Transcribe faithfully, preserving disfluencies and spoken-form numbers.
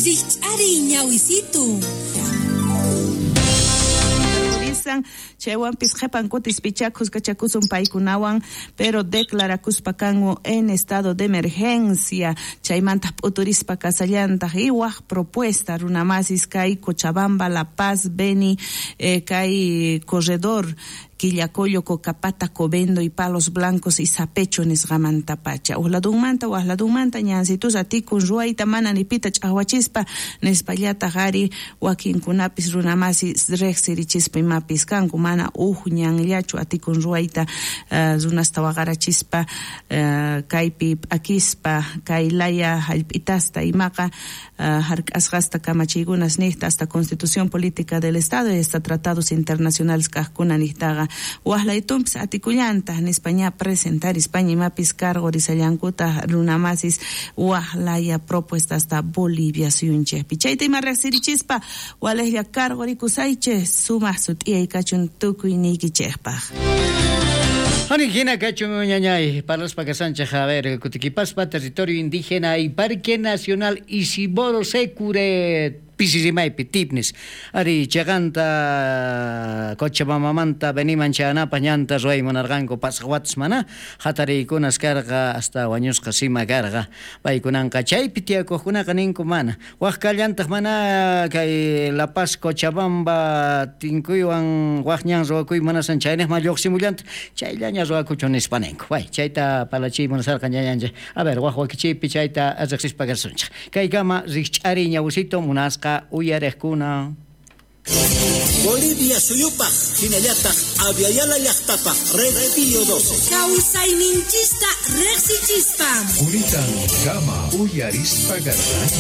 Rikch'ariy ñawisitu. Chaywanpis qhepan kutis pichakus kachakusun paykunawan, pero declarakuspa kanku en estado de emergencia. Chaymanta p'uturispa kasallantaq y waj propuesta runamasis kay Cochabamba, La Paz, Beni, eh, kay corredor Quillacollo, Cocapata, Covendo y Palos Blancos y Sapecho nisqamantapacha. Ujladunmanta, wajladunmanta, ñansitus atikun ruwayta mana nipita ch'awachispa nispallataq ari wakinkunapis runamasi riqsirichispa imapis kanku mana uj ñanllachu atikun ruwayta uh, runasta waqarachispa uh, kaypi p'akispa kay laya hallp'itasta imaqa uh, hark'asqasta kamachiykunas niqta hasta Constitución Política del Estado y hasta tratados internacionales kaqkuna niqtaqa wajlaytunpis atikullanta nispa ña presentar España imapis cargo risallankuta runamasis wajlaya propuesta hasta Bolivia suyunchejpi. Chayta ima riqsirichispa walejlla cargo rikusaychej sumaq sut'iyay kachun tukuyniykichejpaj. Anijina kachun ñañay, parlaspa kasanchej, a ver, Kutiquipaspa, territorio indígena y Parque Nacional Isiboro Secure, Pisisimaypi, Tipnis, ari chaqanta Cochabambamanta beniman chayanapaq ñanta ruway munarqanku pasaq watas mana hatariykunas karqa hasta wañusqa sima karqa paykunanqa chaypi tiyakuqkunaqa ninku mana waq kallantaq mana kay La Paz Cochabamba tinkuywan waq ñan ruwakuy munasan chayniqman lluqsimullanta chayllaña ruwakuchun nispa ninku. Way chayta parlachiy munasarqa ñañanchik. A ver, waq wakichiypi chayta riqsispa kasunchik. Kaykama rikch'ariy ñawusito munasqa uyariqkuna. Bolivia suyupaq hinallataq Aviala llaqtapaq Red Pío doce. Kawsayninchista riqsichispa. Kuritan kama uyarispa garra.